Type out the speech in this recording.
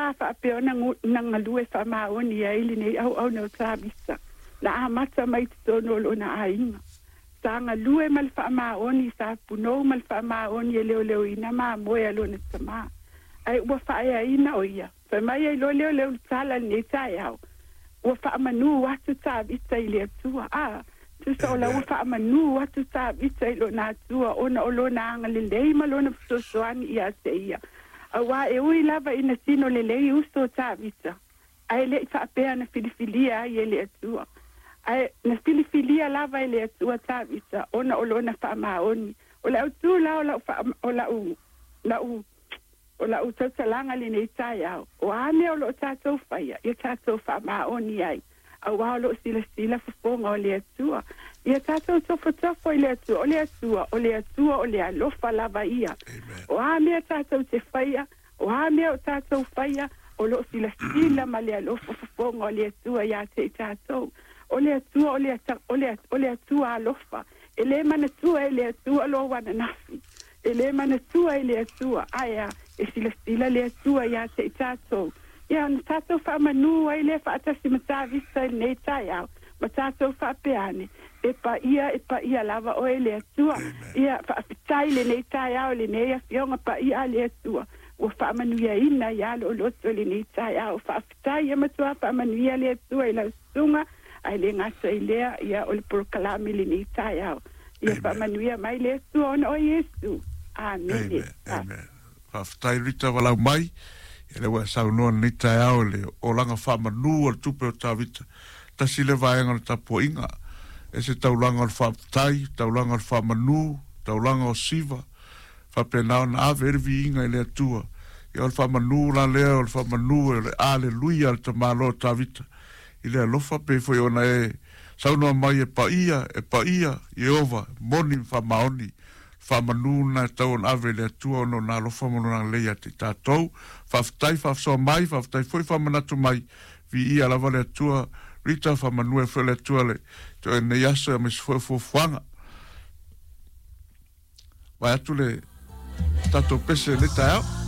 sa faapea ona na galue faamaoni ai lenei auauna o Tavita, na amata mai i totonu o lona aiga. Sa galue ma le faamaoni, sa punou ma le faamaoni e leoleoina mamoe a lona tamā. Ae ua faaeaina o ia. Fai mai ai loa lea o le ulutala i lenei taeao, ua faamanū atu Tavita i le Atua. A, tusa o la ua faamanū atu Tavita i lona Atua ona o lona agalelei ma lona fesoasoani ia te ia. Auā e ui lava ina tino lelei uso o Tavita, ae le i faapea na filifilia ai e le Atua. Ae na filifilia lava e le Atua Tavita ona o lona faamaoni. O le autū la o lau faa, o lau, lau, o lau tautalaga i lenei taeao, o a mea o lo o tatou faia, ia tatou faamaoni ai, auā o lo o silasila fofoga o le Atua. Ia tatou tofotofo i le Atua, o le Atua, o le Atua o le alofa lava ia. O a mea tatou te faia, o a mea o tatou faia, o lo o silasila ma le alofa fofoga o le Atua iā te i tatou. O le Atua o le, o le, o le Atua alofa. E lē manatua e le Atua lou ananafi. E lē manatua e le Atua, ae a, e silasila le Atua iā te i tatou. Ia, ona tatou faamanū ai lea faatasi ma Tavita i lenei taeao, ma tatou faapea ane, E paia, e paia lava oe le Atua. Ia, faafetai i lenei taeao i lenei Afioga Paia a le Atua, ua faamanuiaina iā lou loto i lenei taeao. Faafetai, ia matua faamanuia le Atua i lau susuga, ae le gata i lea, ia, o le polokalame i lenei taeao. Ia faamanuia mai le Atua ona o Iesu. Amene. Amen. Faafetai Rita Valau mai, ia lea ua e saunoa i lenei taeao i le olaga faamanu o le tupe o Tavita. Tasi lea vaega o le tapuaiga, e se taulaga o le faafetai, taulaga o le faamanu, taulaga o siva, faapena ona ave ai le viiga i le Atua. Ia o le faamanu la lea, o le faamanu o le Aleluia a le tamaloa o Tavita i le alofa pei foi ona e saunoa mai e paia, e paia, Ieova, moni ma faamaoni. Faamanu lena e tatau ona ave i le Atua ona o Lona alofa ma Lona agalelei ia te i tatou. Faafetai faasoa mai, faafetai foi faamanatu mai. Viia lava le Atua. Rita, faamanu ai foi le Atua le te oe i lenei aso aemaise foi o fuafuaga. Vae atu le tatou pese i lenei taeao.